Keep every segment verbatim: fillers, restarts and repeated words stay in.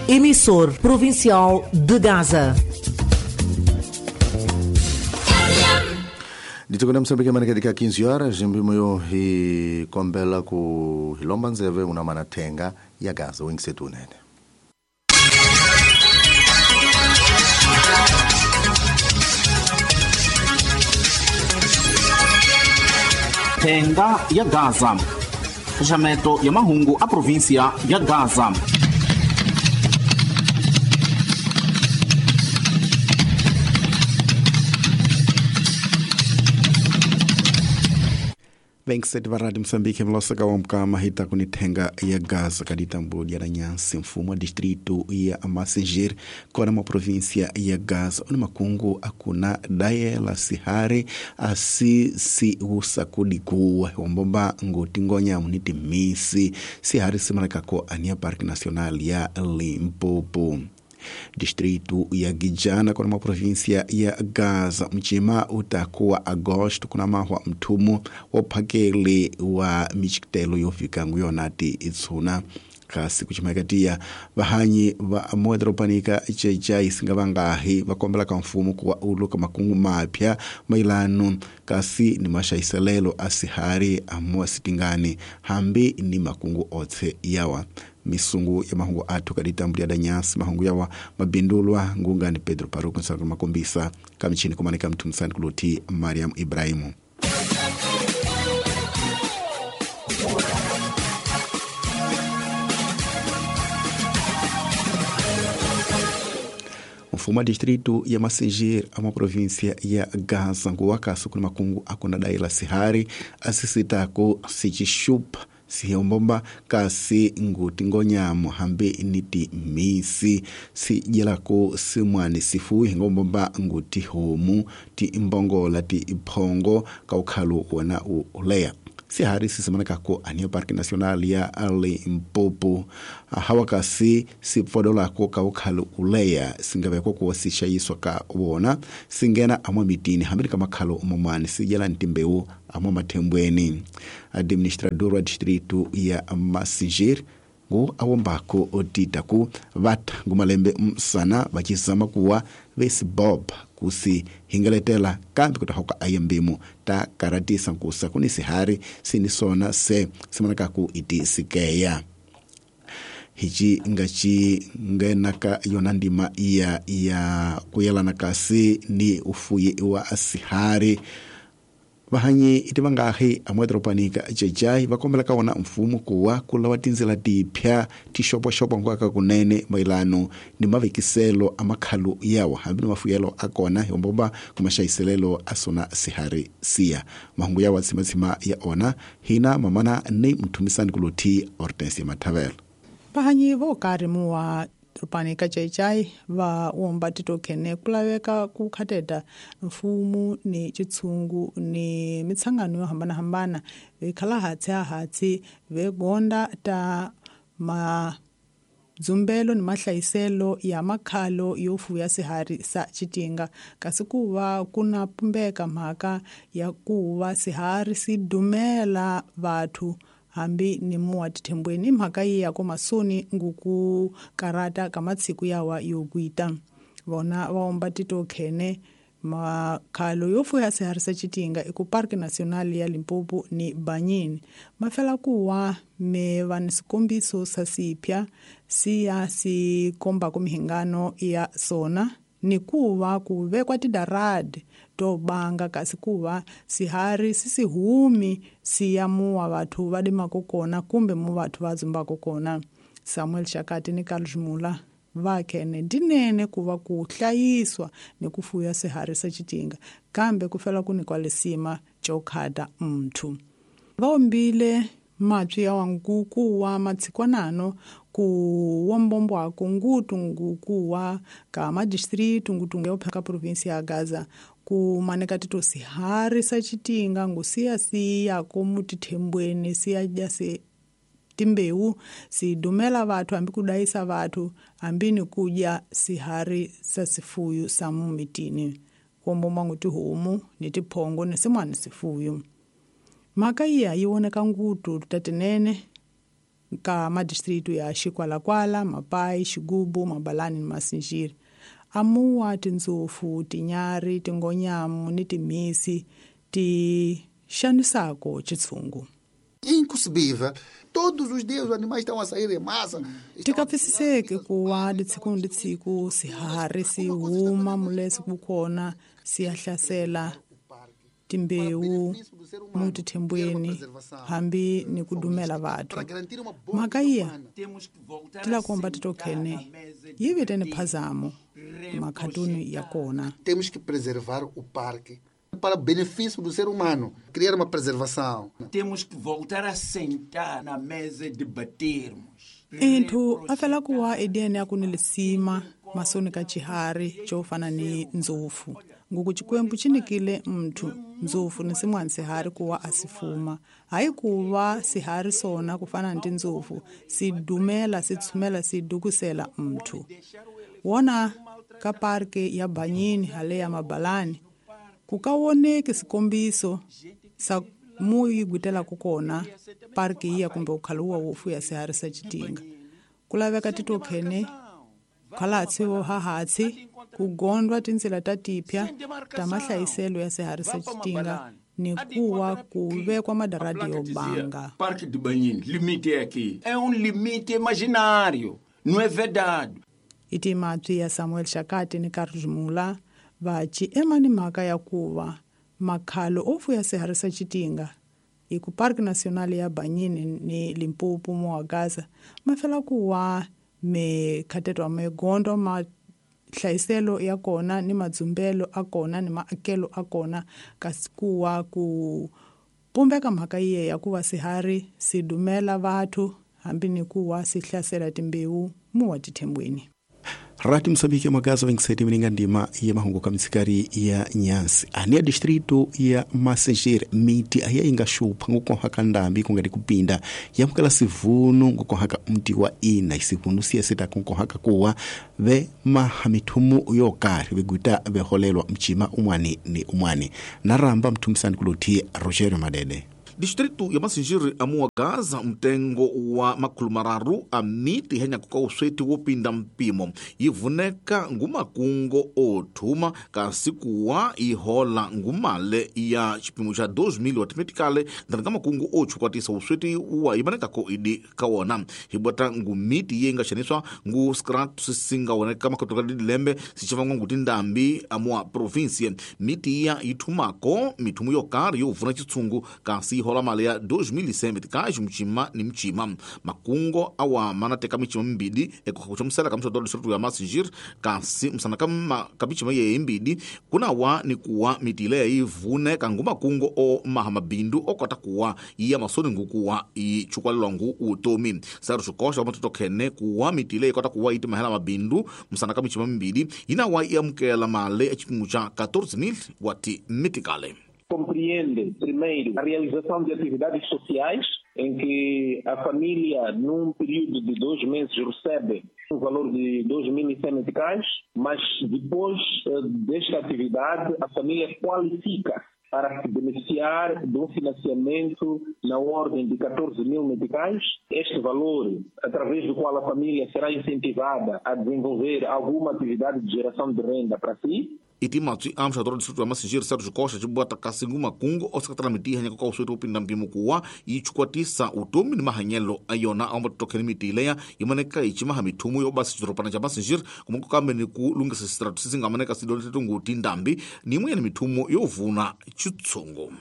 Emissor provincial de Gaza. Ditokona Msambiki mane katika quinze horas mbimoyo hi kombela ku hilomba nzeve una mana thenga ya Gaza wingisetunene. Thenga ya Gaza. Xaxameto ya mahungu a província ya Gaza. Venkseti va Radio Moçambique mlosaka wa mkama hita kunithenga ya Gaza kaditambo ya nyansi mfumo wa distrito ya Massingir kona ma província ya Gaza oni makungu akuna dayela sihari asi si usakudikuwa wombomba ngoti ngonya muniti misi sihari simalakako ania Parque Nacional ya Limpopo. Distrito ya Gijana kuna ma província ya Gaza mchima utakuwa Agosto kuna mahwa mtumu waphakele wa michikitelo yofika nguyonati itsuna kasi kuchimakatia vahanyi va moedropanika chechai singavangahi vakombela ka mfumo kuwa uluka makungu mapya mailano kasi ni mashaiselelo asihari amoa sitingani hambi ni makungu otse yawa misungu ya mahungu atu kaditambulia danyasi mahungu yawa mabindulwa ngungani Pedro Paruku nsaka makombisa kamichini kumanika mtumsani kuloti Mariam Ibrahimu. Mfumo wa distrito ya Massingir ama província ya Gaza nguwakasu kuna makungu akuna daila sihari asisitako sichishupa sihombomba kasi nguti ngonyamo hambi niti misi sijelako simwani sifuyi ngombomba nguti homu ti imbongola ti iphongo kaukhalo wona uleya sihari sisimanakako ania Parque Nacional ya Limpopo hawa kasi sipfodolako kaukhalo uleya singavekwa kuwa sishayiswa ka wona singena amwa mitini hambi kamakhalo momani sijela ntimbewu amwa mathembweni. Administrador wa distrito ya Massingir ngu awombako otitaku vatha ngumalembe msana vachisama kuwa vesibob kusi hingaletela kambi kutahoka ayembimu ta karatisa nkusa kuni sihari sini sona se simanakaku iti sikeya hichi ngachi ngenaka yona ndima ya ya kuyelana kasi ni ufuye wa sihari vahanyi iti vangahi amwedropanika jejai vakombela ka wona mfumo kuwa kulawa tindzela tipya tixopoxopo nkwaka kunene mailano ni mavekiselo a makhalu yawa hambi ni mafuyelo a kona himbomba kumaxayiselelo a sona sihari siya mahungu yawa tsimatsima ya ona hina mamana ni mthumisani kuluthi Hortensia Mathavela. Vahanyi vo karhi muwa dropanika jejai va womba titokhene ku laveka ku khateta mfumo ni chitshungu ni mitsangano yo hambanahambana vikhala hatsi a hatsi vegonda ta madzumbelo ni mahlayiselo ya makhalo yo fuya sihari sa chitinga kasi ku va ku na pumbeka mhaka ya ku va sihari si dumela vathu hambi ni muwa tithembweni mhaka yi ya komasoni nguku karata ka matsiku yawa yo kuita vona va omba titokhene makhalo yo fuya sihari sa chitinga eku Parque Nacional ya Limpopo ni Banyini mafela kuwa me va ni swikombiso sa sipya siya si kombako mihingano ya sona ni kuva ku vekwa tidaradi to banga kasi kuva sihari sisihumi siya muwa vathu va limako kona kumbe mu vathu va dzumbako kona. Samuel Shakati ni Carlos Mula va khene ndinene ku va ku hlayiswa ni ku fuya sihari sa chitinga kambe ku fela ku nikwa lisima xo khata mnthu. Va ombile mapyi ya wanguku wa matshikwanano ku wombombwako ngutu ngukuwa ka madistritu ngutu ya ka província ya Gaza ku maneka tito sihari sa chitinga ngusiya siya komu tithembweni siya dya si timbewu sidumela vathu hambi kudayisa vathu hambi ni kudya sihari sa sifuyu sa mumitini kuombomba ngu tihomu ni tiphongo ni simwana sifuyu. Mhaka iya yi voneka ngutu tatinene ka madistritu ya Xikwalakwala, Mapai, Xigubu, Mabalani ni Masinjiri. Amuwa tindzofu, tinyari, tingonyamu ni timhisi ti xanisako chitshungu. Inconcebível. Todos os dias os animais estão a sair em massa. Tikapfisiseki ku wa litsiku ni litsiku swiharhi swi huma mulesi ku kona swi ya hlasela timbewu mutithembweni hambi ni ku dumela vathu. Mhaka iya tilakomba titokhene yi vitene phazamo makhatuni ya kona. Temos que preservar o parque para benefício do ser humano, criar uma preservação. Temos que voltar a sentar na mesa e debatermos. Inthu a fela ku wa edeni ya ku ni lisima masoni ka chihari xo fana ni ndzofu. Nguku Xikwembu xi nyikile mnthu ndzofu ni sin'wana sihari ku wa a si fuma. Hayi ku va sihari sona ku fana ni tindzofu si dumela si tshumela si dukusela mnthu. Wona ka parke ya Banyini hale ya Mabalani ku ka woneki swikombiso sa mu yi gwitelaka kona parki yiya kumbe ukhaluwa wo fuya sihari sa xitinga. Ku laveka titokhene khalatsi wo hahatsi ku gondwa tindzila ta tipya ta mahlayiselo ya sihari sa xitinga ni kuwa ku vekwa madaradi yo banga. Parque de Banhine, limite aqui. É um limite imaginário, não é verdade. I timapyi ya Samuel Shakati ni Carlos Mula va ci ema ni mhaka ya ku va makhalo o fuya sihari sa xitinga hi ku Parque Nacional ya Banyini ni Limpopo mo wa Gaza ma fela ku wa mikhatetwa magondo ma hlayiselo ya kona ni madzumbelo a kona ni maakelo a kona kasi ku wa ku pumbeka mhaka yiye ya ku va sihari si dumela vathu hambi ni ku wa si hlasela timbewu mu wa tithembweni. Rati Mosambiki ya Magaza vengiseti mininga ndima ya mahungu kamitsikari ya nyansi. Ania distrito ya Massingir miti aya inga shupha ngukohaka ndambi kungati kupinda yamukela sivunu ngukohaka mti wa ina isivunu siyesita kunkohaka kuwa ve mahamithumu yokari veguta veholelwa mchima umwani ni umwani. Naramba mthumisani kuluthi Rogerio Madede. Distrito ya Massingir amuwa Gaza mtengo wa makhulu mararu a miti henyakuka usweti wopinda mpimo yivuneka ngumakungo othuma kasi kuwa ihola ngumale ya xipimo xa dois mil wa timetikale ndani ka makungu ochukwatisa usweti wa yimanekako idi ka wona hibwata ngumiti ye nga xaniswa ngu scrat sisingawoneka makotoka dilembe sixivangwa ngu tindambi amuwa provinsia miti ya yithumako mithumu yo karhi yo vuna xitshungu kasi hola mali ya dois mil e cem meticais mchima ni mchima makungo awa manateka michima mbidi ekuxamusela ka msodoro distrito ya Massingir kasi msana kama kabichima ye mbidi kuna wa ni kuwa mitile ivune kangu makungo o mahamabindu okota kuwa iya masoni ngukuwa ichukwalelwa ngu utomi saru xikoxa wa matoto khene kuwa mitile ikota kuwa iti mahela mabindu msana kamichima mbidi ina wa iamukela mali echipimo xa quatorze mil wati meticale. Compreende, primeiro, a realização de atividades sociais, em que a família, num período de dois meses, recebe um valor de dois mil e cem meticais, mas depois desta atividade, a família qualifica para se beneficiar de um financiamento na ordem de quatorze mil meticais. Este valor, através do qual a família será incentivada a desenvolver alguma atividade de geração de renda para si. Itimatsi amxadoro distrito ya Massingir Sérgio Costa cibuata kasi ngumakungu osakatala miti hanya koka usweti upinda mpimo kuwa ichukwatisa utomi ni mahanyelo ayona aumatotokheni miti ileya imaneka ichimaha mithumu yobasa xidoropana xa Massingir kumungu kambe ni ku lunghisa xistrato sisingamaneka sidoleteto ngu tindambi ni imwe ni mithumu yo vuna xitshungu.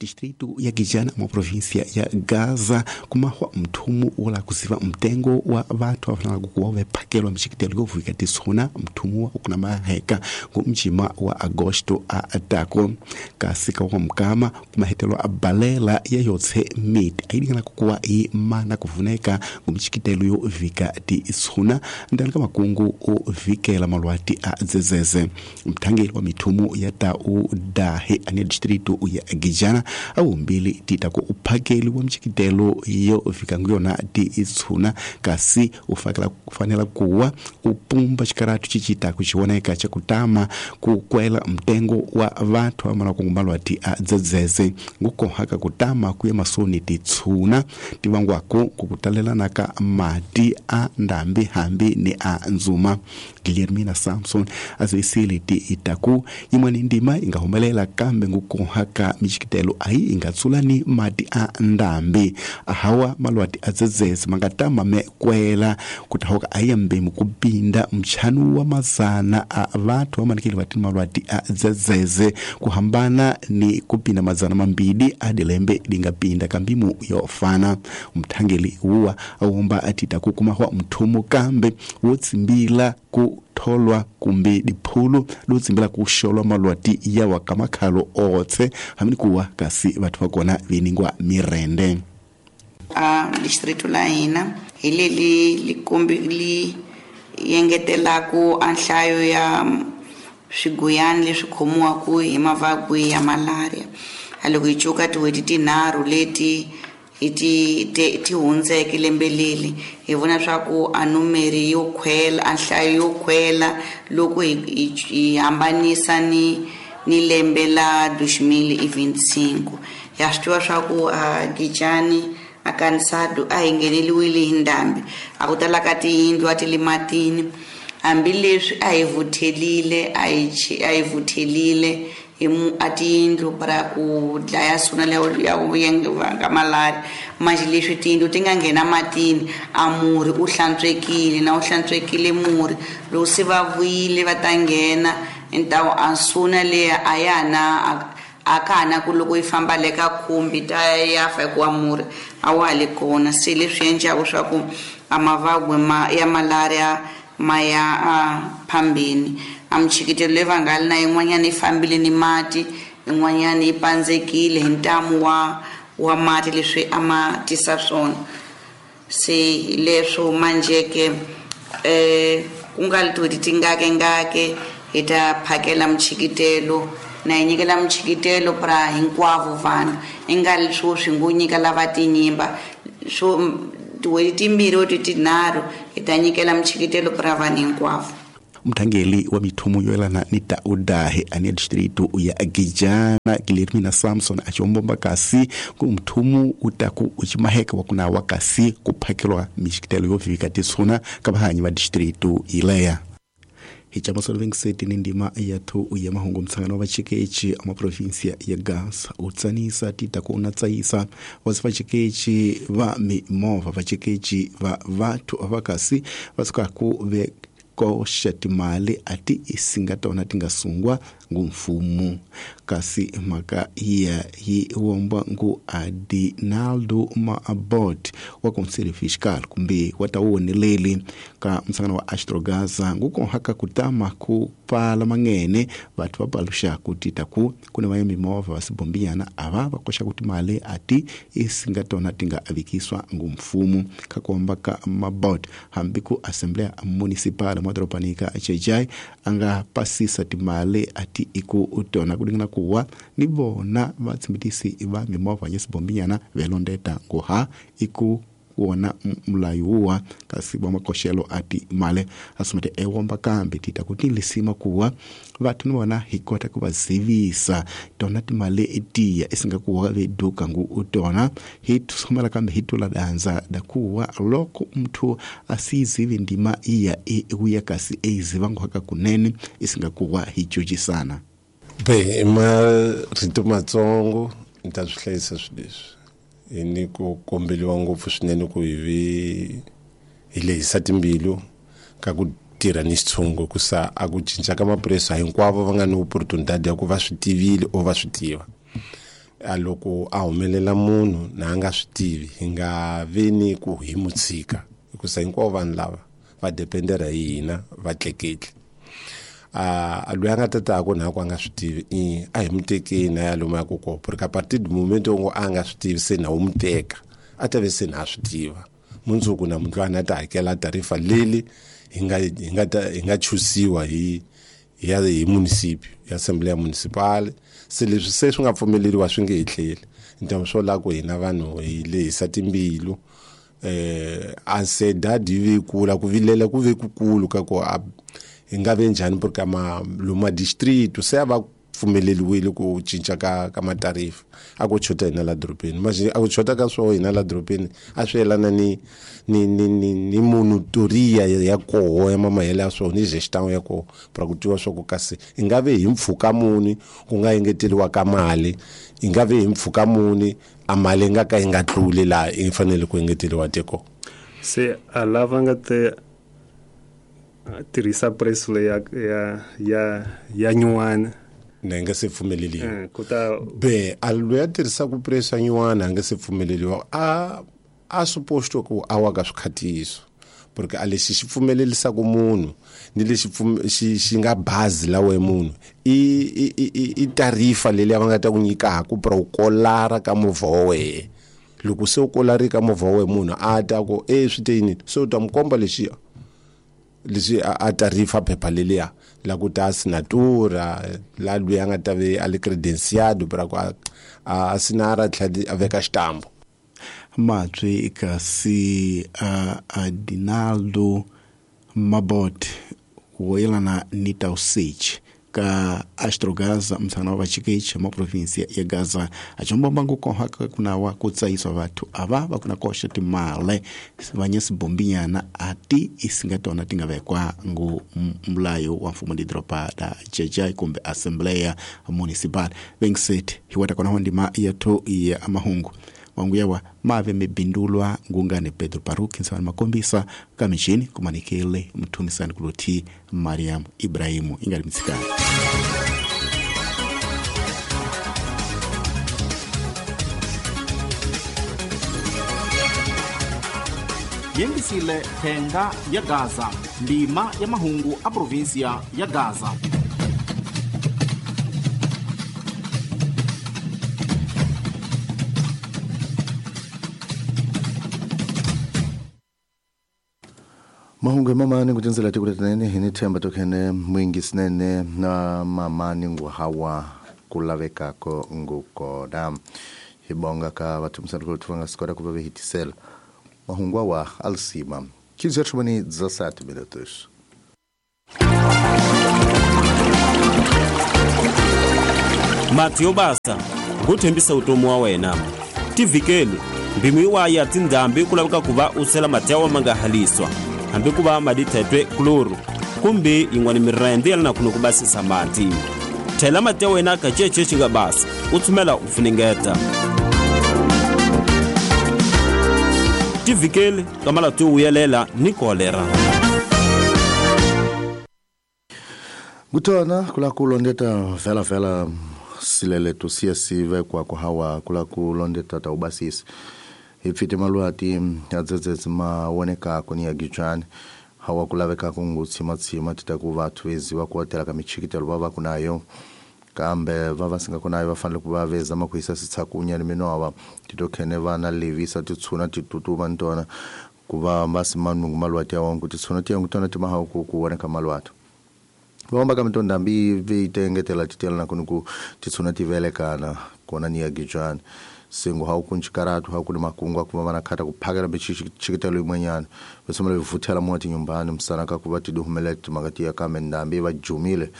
Distrito ya Gijana mwa província ya Gaza kumahwa mthumu wola kuziva mtengo wa vathu afanala kuwa vephakelwa mxikitelo yovika tisuna mthumu wa ukuna maheka ngu mjima wa agosto a atako kasi ka wa mkama kumahetelwa abalela ya yotse miti aidingana kukuwa i mana kuvuneka ngu mxikitelo yovika tisuna ndani ka makungu o vikela malwati a dzezeze mthangeli wa mithumu ya tau dahe ane distrito ya Gijana a wumbili tita ku uphakeli wa mchikitelo yo fika nguyona ti itshuna kasi ufakela kufanela kuwa upumba xikaratu chichita kuchioneka cha kutama kukwela mtengo wa vathu amala kungumbalwa ti a dzedzeze ngukohaka kutama kuya masoni titshuna tivangwako kukutalelana ka mati a ndambi hambi ni a nzuma. Guilhermina Samson azivisile ti itaku yimweni ndima ingahumelela kambe ngukohaka michikitelo ayi ingatsulani mati a ndambi ahawa malwati a dzedzeze mangatama me kwela kutahoka ayambe mukupinda mchanu wa mazana a vathu amanikile vatini malwati a dzedzeze kuhambana ni kupinda mazana mambili adilembe lingapinda kambimu yofana. Mthangeli wuwa awomba atita kukumahwa mthumu kambe wotsimbila ku tholwa kumbe diphulu lotsimbila kuxolwa malwati yawa kamakhalo otse hamini kuwa kasi vathu vakona viningwa mirende. A distrito la hina hi leli likombi li yengetelaku a nhlayo ya swiguyani leswi khomiwaku hi mavabyi ya malaria. A loko hi cuka tin'hweti tinharhu leti hi ti ti hundzeke lembe leli hi vona swa ku a numeri yo khwela a nhlayo yo khwela loko hi hi hambanisa ni ni lembe la dois mil e vinte e cinco. Ya swi tiva swa ku a Gijani a Kansado a hi ngheneliwile hi ndhambi a ku tala ka tiyindlu a ti le matini hambileswi a hi vuthelile a hi a hi vuthelile hi a tiyindlu para ku dlaya suna leyo ya vanga malaria manje leswi tiyindlu ti nga nghena matini a murhi u hlantswekile na u hlantswekile murhi loko se va vuyile va ta nghena ntawu a suna leya a ya na a ka ha na ku loko yi famba le ka khumbi ta ya fa hikuva murhi a wa ha le kona se leswi endlaku swa ku a mavabyi ma ya malaria ma ya a phambeni. A michikitelo leyi va nga li na yin'wanyana yi fambile ni mati yin'wanyana yi pandzekile hi ntamu wa wa mati leswi a ma tisa swona se leswo manjeke eh ku nga li tin'hweti tingake ngake hi ta phakela michikitelo na hi nyikela michikitelo pra hinkwavo vanhu i nga li swo swi ngo nyika lava tinyimba swo tin'hweti timbirhi or tinharhu hi ta nyikela michikitelo pra vanhu hinkwavo. Mthangeli wa mithumu yoelana ni taudahe ane distrito ya Gijana Guilhermina Samson achombomba kasi ku mthumu utaku uchimaheka wakuna wakasi kuphakelwa michikitelo yovika tisuna kabahanyi va distrito ileya. Hichamasolo vingiseti ni ndima yathu ya mahungu mtsangano wa vachikechi ama provinsia ya Gaza utsanisa tita ku unatsayisa wasi vachikechi va mimovha vachikechi va vathu avakasi vasukaku ve koxa timali ati isinga tona tingasungwa ngumfumo kasi mhaka iya yi womba ngu Adinaldo Maabot wa Conselho Fiscal kumbe wa tawoneleli ka msangano wa Astrogaza ngukohaka kutama ku pala mangene vathu va paluxa ku tita ku kuna va mimovha va sibombinyana ava va koxa ku timali ati isinga tona tinga avikiswa ngumfumo ka komba ka Mabot hambi ku Assembleia Municipal madoropanika Chejai anga pasisa timali ati iku utona kulingana kuwa ni vona vatsimbitisi va mimovha ya sibombinyana velondeta nguha iku wona mulayo kasi wa makoxelo ati male asumete ewomba kambe tita kuti lisima kuwa vathu ni vona hi kota ku va zivisa tona timali etiya isinga kuwa veduka ngu utona hi tusomela kambe hi tula danza dakuwa loko mnthu asizivi ndima iya iuya kasi eiziva nguhaka kunene isinga kuwa hi jujisana. Bem, marito matsongo ni ta swi hlayisa swilo leswi hi ni ku kombeliwa ngopfu swinene ku hi vi hi lehisa timbilu ka ku tirha ni xitshungu ku sa a ku cinca ka maphorisa hinkwavo va nga ni opportunidade ya ku va swi tivile o va swi tiva a loko a humelela munhu na a nga swi tivi hi nga vi ni ku hi mu tshika hikusa hinkwavo vanhu lava va dependera hi hina va tleketli a loyi a nga tataku na ku a nga swi tivi i a hi mu tekeni a ya lomu ya ku kona porque a partir du momento ngo a nga swi tivi se na wu mu teka a ta ve se na swi tiva mundzuku na mundlwana a ta hakela tarifa leli hi nga hi nga ta hi nga chusiwa hi ya hi municipio ya assembleia municipal Se leswi se swi nga pfumeleriwa swi nge hi tlheli. Ntamu swo la ku hina vanhu hi lehisa timbilu. Eh ansiedade yi ve kula ku vilela ku ve kukulu ka ku hi nga ve njhani porque ma luma distrito se a va pfumeleriwile ku cinca ka ka matarifa a ku chota hina la dorobeni manje a ku chota ka swo hina la dorobeni a swi yelana ni ni ni ni ni monitoria ya koho ya mamahele ya swo ni gestão ya koho para ku tiva swa ku kasi i nga ve hi mpfhuka muni ku nga engeteriwa ka mali i nga ve hi mpfhuka muni a mali nga ka yi nga tluli laha i fanele ku engeteriwa tiko se a lava nga te tirhisa preço leyi ya ya ya ya nyuwana na nga se pfumeleliwa kuta be a loyi a tirhisaka preço ya nyuwana a nga se pfumeleliwa a a suposto ku a wa ka swikhatiso porque a lexi xi pfumelelisaka munhu ni lexi xi xi nga bazi la we munhu i i i i tarifa leyi va nga ta ku nyikaka para u kolara ka movha wa wehe loko se u kolari ka movha wa wehe munhu a ta ku e swi te yini se u ta mu komba lexiya leswi a tarifa phepha leliya la ku ta assinatura la loyi a nga ta ve a le credenciado para ku a asinara tlhela a veka xitambo Matswi kasi uh, Adinaldo Mabot woyelana ni Tausich ka Astrogaza msana wa vachikechi ma provinsia ya Gaza achombamba ngukoha kunawa kutsayiswa vathu ava vakuna koxa timale vanyesi bombinyana ati isingatona tingavekwa ngu mulayo wa mfumo di dropa da jajai kumbe assembleia municipal vengiseti hiwata kona ndima yathu ya mahungu wangu yawa mave mebindulwa ngungane Pedro Paruki nsawani makombisa kamishini kumanikele mtumisani kuloti Mariam Ibrahimu ingali mitsikani. Yengisile thenga ya Gaza ndima ya mahungu a provinsia ya Gaza. Mahungu mamani kutinzela tikuletinene hini themba tokhene mwingi sinene na mamani nguhawa kulavekako ngukona hibonga ka vathumisani kulotufanga sikora kuva vehitisela mahungu awa alisima quinze horas e dezessete minutos. Mati yo basa nguthembisa utomi wa wena tivikeli mbimu iwaya ya tindhambi ku laveka ku va u sela mati ya wa ma nga haliswa hambi ku va madi thetwe kloro kumbe yin'wana mirende ya na kuno ku basisa mati thela mati ya wena ka cece xi nga basa u tsumela u funengeta tivikeli ka malati yo vuyelela ni kolera. Kutona kula kulondeta vela vela sileleto siya sive kwa kuhawa kula kulondeta ta ubasisi ipfite malwati adzedzedze maoneka koni ya gichani hawa kulaveka kungu tsima tsima titakuva twezi wakuwatela kamichikitelo vava kunayo kambe vava singakunayo vafanele kuva vezama kuisa sitsakunya ni minova titokhene vana levisa titsuna titutuma ntona kuva masimanungu malwati awangu titsuna tiyangu tona timahawu kuoneka malwati vahomba ka mitondambi veitengetela titela na kunuku titsuna tivelekana kona ni ya gichani singo haukunchikaratu haukuni makungu akuva vanakhata kuphakela michikitelo imwenyana vesomela vivuthela moti nyumbani msana kakuva tiduhumelela timakati ya kame ndambi vajumile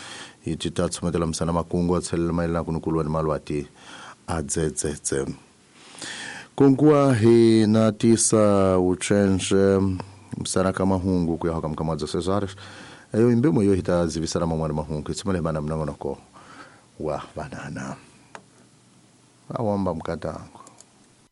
iti tatsumetela msana makungu atselela mayelana kunukulwa ni malwati adzedzedze kunkuwa hi na tisa uchenje msana kamahungu kuya hakamkamadza Cesar ayo imbemo yo hita zivisana mamwana mahungu itsimale bana mnangonoko wa banana awamba mkatango.